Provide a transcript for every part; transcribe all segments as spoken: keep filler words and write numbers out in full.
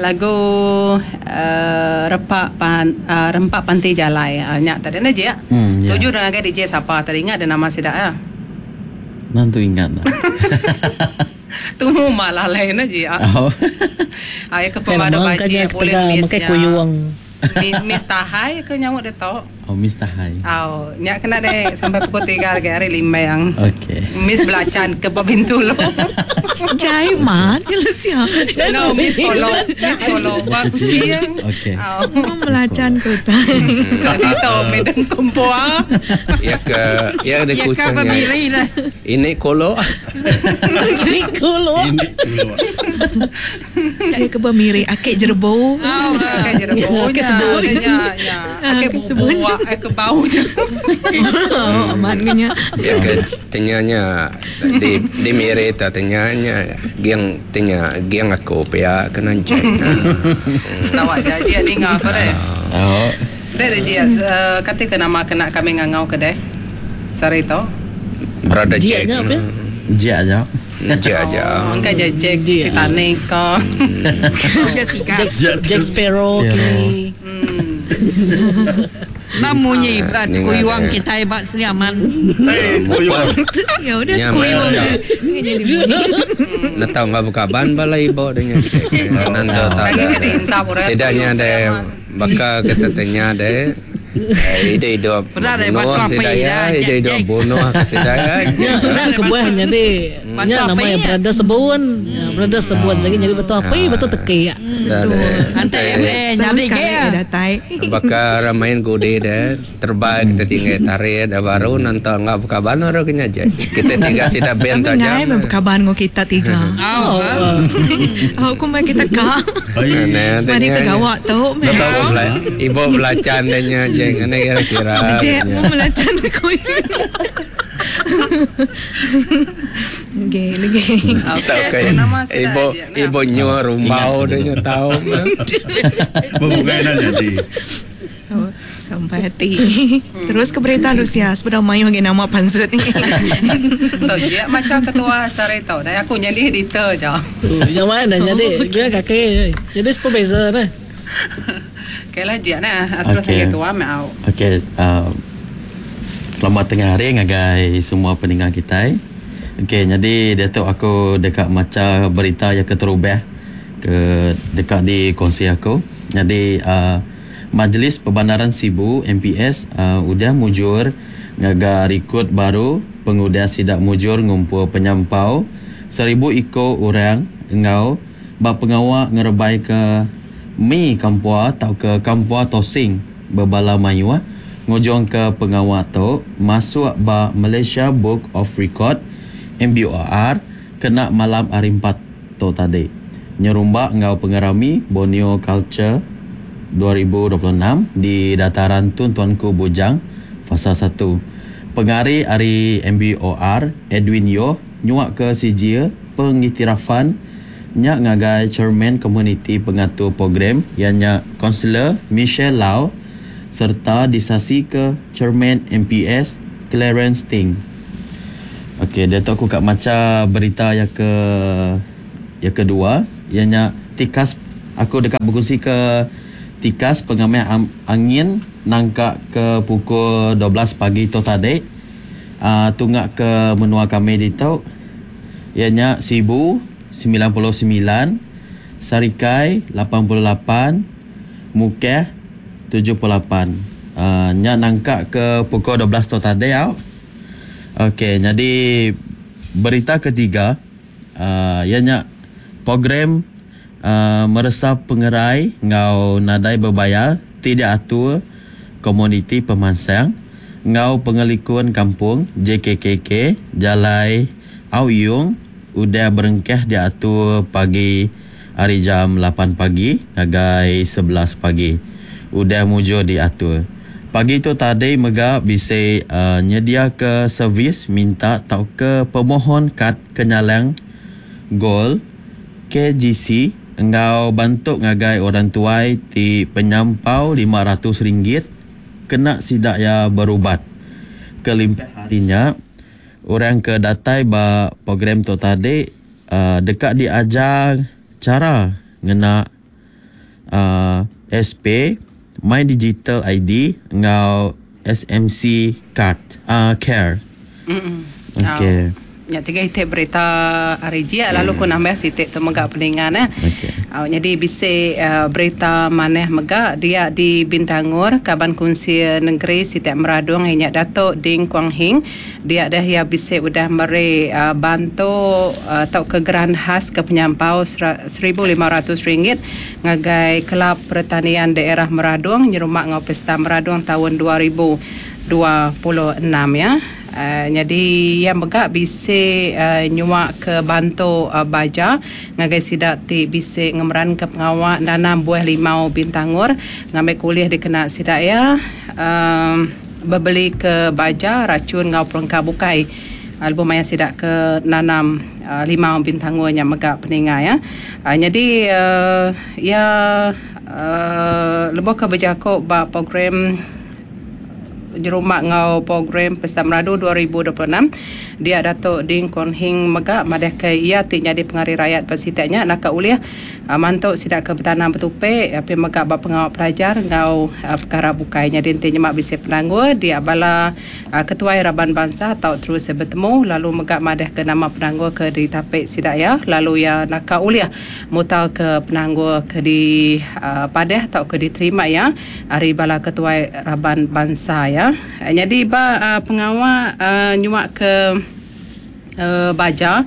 Lagu uh, repak pan uh, rempak panti jalai. Uh, nyak tadi na je. Hmm, ya. Tuju dengan D J siapa tadi ingat ada nama sida ya. Nanti ingat lah. Tunggu malah lain aja. Oh. Ayo ke pemadu baji boleh misnya. Kuyuang. Miss Tahai ke nyamuk dia tahu. Oh, Miss Tahai. Oh, nyak kena deh sampai pukul tiga lagi hari lima yang. Okey. Miss belacan ke pintu lo. Jai man, ya Lucia. No, Miss Polo, Miss Polo. Okey. Oh, belacan ke tak. Itu medan kumpul. Ya ke, ya ada kucingnya. Ini kolo. Ini kolo. Ini kolo. Ya ke bemiri akik jerbo. Akik jerbo. Akik sebun. Ya, ya. Akik sebun. Akik bau je. Aman kenya. Ya ke tenyanya di di miri ta tenyanya geng tenya geng aku pia kena jek. Tahu aja dia dengar apa deh. Oh. Deh dia kata ke nama kena kami ngangau ke deh. Sari to. Brother Jack. Jack aja. Jack aja. Oh, engkau Jack Titanic ko. Jack Jack Sparrow kini. Namunyi kuyuang kita hebat seliaman. Ya udah kuyuang. Nak tahu nggak buka ban balai ibu dengan Jack. Nanti tak ada. Sedanya deh bakal kita tanya deh. Ide hidup bunuh sedaya, ide hidup bunuh sedaya. Nah, kebuah jadi, nya namanya berada sebun, berada sebun. Jadi jadi betul apa? Betul teki ya. Nanti eh jadi ke? Bakal main gode deh, terbaik kita tinggal tarik dah baru nanti nggak buka ban orang kena aja. Kita tiga sida bent aja. Ngai buka ban ngau kita tiga. Oh, aku main kita kak. Semari ke gawat tu. Ibu belacan dehnya. Jangan kira-kira. Jack mau melacan aku. Okey, lagi. Okey. Ibu ibu nyuruh rumbau dia nyu tahu. Bukan nak jadi. So, sampai hati. Terus ke berita Lucia, sebelum mayu lagi nama pansut ni. Tahu dia macam ketua sare tahu dah aku jadi editor je. Yang mana jadi dia kaki. Jadi supervisor dah. Okey lah dia nah terus okay. Ketua mau. Okey, uh, selamat tengah hari ngagai semua pendengar kita. Okey, jadi dia tu aku dekat maca berita yang keterubah ke dekat di kongsi aku. Jadi uh, Majlis Perbandaran Sibu M P S uh, udah mujur ngaga rekod baru pengudah sidak mujur ngumpul penyampau seribu iko orang ngau ba pengawak ngerebai ke mi kampua atau ke kampua tosing berbala mayuah ngujung ke pengawak tu masuk ba Malaysia Book of Record M B O R kena malam hari empat tu tadi nyerumbak ngau pengerami Borneo Culture dua ribu dua puluh enam di dataran Tun Tuanku Bujang fasa satu. Pengari hari M B O R Edwin Yo nyuak ke C J pengiktirafan nyak ngagai chairman komuniti pengatur program ianya Kaunselor Michelle Lau serta disasi ke chairman M P S Clarence Ting. Okey, dia tu aku kat maca berita yang ke yang kedua ianya tikas aku dekat berkongsi ke tikas pengambil angin nangka ke pukul dua belas pagi tu tadi uh, tunggak ke menua kami di tu ianya Sibu sembilan puluh sembilan, Sarikai lapan puluh lapan, Mukeh tujuh puluh lapan. Uh, nya nangka ke pukul dua belas tu tadi au. Okey, jadi berita ketiga uh, ianya program uh, meresap pengerai ngau nadai berbayar tidak atur komuniti pemansang ngau pengelikun kampung J K K K Jalai Au Yung udah berengkah diatur pagi hari jam lapan pagi ngagai sebelas pagi. Udah mujur diatur. Pagi tu tadi mega bisa uh, nyedia ke servis minta tau ke pemohon kad kenyalang gol K G C engau bantu ngagai orang tuai ti penyampau lima ratus ringgit kena sidak ya berubat. Kelimpah harinya orang ke datai ba program tu tadi uh, dekat diajar cara ngena uh, S P, My Digital I D ngau S M C card uh, care. Mm. Okey. Ya tiga itik berita hari jia lalu ku nambah sitik tu mega peningan eh. Okey. Uh, jadi bisi uh, berita maneh mega dia di Bintangor Kaban Kunsi Negeri Sitik Meradung inya Datuk Ding Kuang Hing dia dah ya bisi udah meri uh, bantu uh, atau ke geran khas ke penyampau seribu lima ratus ringgit ngagai Kelab Pertanian Daerah Meradung nyerumak ngau Pesta Meradung tahun dua ribu dua puluh enam ya. Uh, jadi yang mega bisi uh, nyuak ke bantu uh, baja ngagai sidak ti bisi ngemeran ke pengawak nanam buah limau Bintangor ngambil kuliah dikena sidak ya uh, berbeli ke baja racun ngau perengka bukai album maya sidak ke nanam uh, limau Bintangor yang mega peninga ya. Uh, jadi uh, ya uh, lebih ke berjakok ba program jerumak ngau program Pesta Meradu dua ribu dua puluh enam dia Datuk Ding Kuang Hing mega madah ke ia ti nyadi pengari rakyat pasitaknya nak ulih uh, mantuk sidak ke bertanam bertupik api mega ba pengawal pelajar ngau uh, perkara bukai nya dinti nyemak bisi penanggul dia bala uh, ketua raban bangsa atau terus bertemu lalu mega madah ke nama penanggul ke ditapik sidak ya lalu ya nak ulih mutal ke penanggul ke di uh, padah atau ke diterima ya ari bala ketua raban bangsa ya. Jadi ba uh, pengawal uh, nyuak ke uh, baja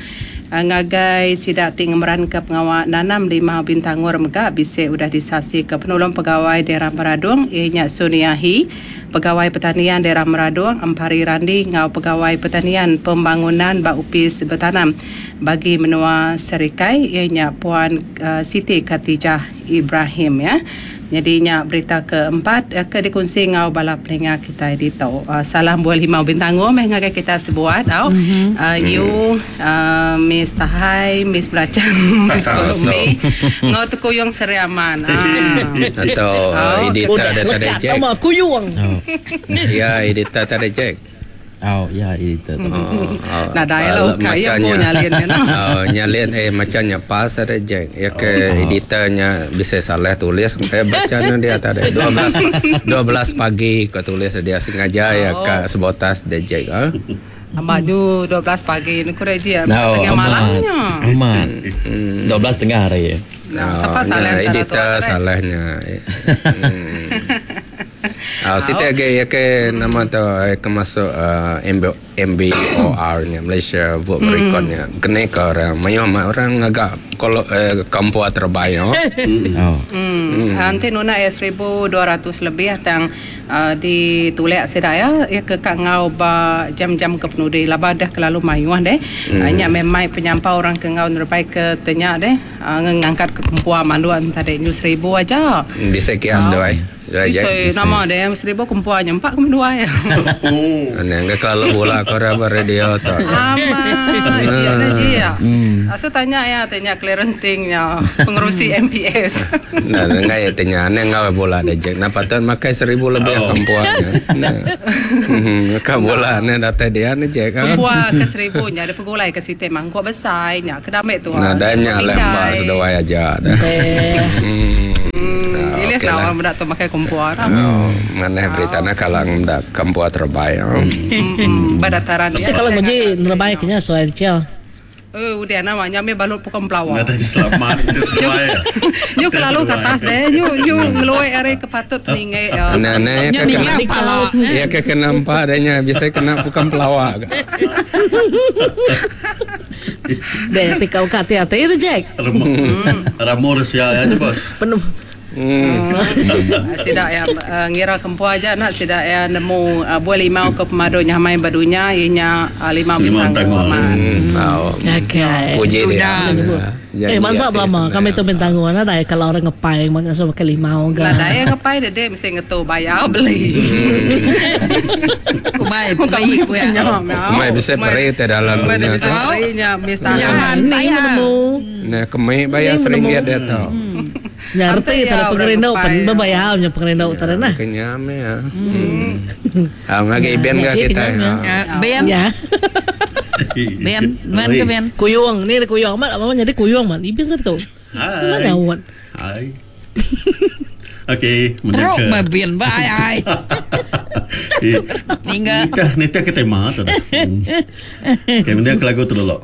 uh, ngagai sidak ti ngemeran ke pengawal nanam lima Bintangor mega bisi udah disasi ke penolong pegawai daerah Meradung ianya Suniahi, pegawai pertanian daerah Meradung Empari Randi ngau pegawai pertanian pembangunan ba upis bertanam bagi menua Serikai ianya Puan uh, Siti Khatijah Ibrahim ya. Jadi nya berita keempat ke dikongsi ngau bala pelinga kita di tau. Uh, salam buah limau Bintangor meh ngagai kita sebuat tau. Mm-hmm. Uh, you uh, Miss Tahai, Miss Belacan, Miss Kolumi. Ngau tu kuyung Seriaman. Ah. Atau uh, editor ada tadi Jack. Nama kuyung. Oh. Ya, editor tadi Jack. Oh, ya editor. Oh, oh. Nah, dah lah kaya pun nyalin ya. Oh, nyalin eh macamnya pas ada Jack. Ya ke oh. Editornya bisa salah tulis eh bacanya dia tadi dua belas pagi kau tulis dia sengaja ya ke sebotas dia Jack. Ha? Amaju dua belas pagi ni kurang dia no, tengah malamnya. Amat. Hmm. dua belas tengah hari ya. Nah, siapa salah editor salahnya. Hmm. Ah, uh, siti lagi ya ke nama tu eh, ke masuk uh, M B O R nya Malaysia Book mm. Record nya. Kena ke orang mayo orang agak kalau eh, kampua terbaik. Oh. Hmm. Nanti nuna ya seribu dua ratus lebih tang uh, di tulek sedaya ya ke kak ngau ba jam-jam ke penudi laba dah kelalu mayuah deh. Hmm. Uh, nya memang penyampau orang ke ngau nerbai ke tenya deh uh, ngangkat ke kempua manduan tadi nyu seribu aja. Bisa kias doai. Bisa nama dia seribu kumpuannya empat ke dua ya. Oh. Ane kalau bola kau rabar radio tu. Sama. Dia dia. Asu tanya ya tanya clearantingnya pengerusi M P S. Nah, ngai ya tanya ane ngau bola dia je. Napa tuan makai seribu lebih kumpuannya. Nah. Kau bola ane datai dia ane je kan. Kumpua ke seribunya ada pegulai ke situ mangkuk besar nya kedamek tu. Nah, danya lembah seduai aja dah. Hmm. Pilih okay lah orang budak tu pakai kumpua lah. Oh, mana berita nak kalau budak kumpua terbaik. Hmm, badataran. Mesti kalau ngaji terbaik kena soal cel. Eh, udah namanya me balut pukul pelawak. Ada selamat sesuai. Nyu kelalu ke atas deh, nyu nyu ngeluai are kepatut peningai. Nah, nah, ya kena ya ke kena empat adanya biasa kena pukul pelawak. Deh, tikau kat hati itu Jack. Ramor sia ya bos. Penuh. Hmm. Sidak ya uh, ngira kempua aja nak sidak ya nemu uh, buah limau ke pemadunya main badunya ianya uh, limau bintang. Hmm. Oh. Okey. Puji dia. Eh masa lama kami tu bintang gua nak kalau orang ngepai mangsa pakai limau ke. Lah dah ngepai deh deh mesti ngetu bayar beli. Kumai peri ku ya. Kumai bisa peri te dalam. Kumai bisa perinya mesti nemu. Nah kemai bayar seringgit dia tau. Ngerti tara pengerindu pen bebayar nya pengerindu tara nah. Kenyam ya. Ah ngagi ben ga kita. Ben. Ya. Ben, man ke ben. Kuyung ni kuyung amat apa jadi kuyung man. Ibin satu. Tu mana awak? Hai. Okey, Teruk meh bin ba ai ai. Ningga. Nitih nitih ke tema tu dah. Okey, mending ke lagu tu dulu.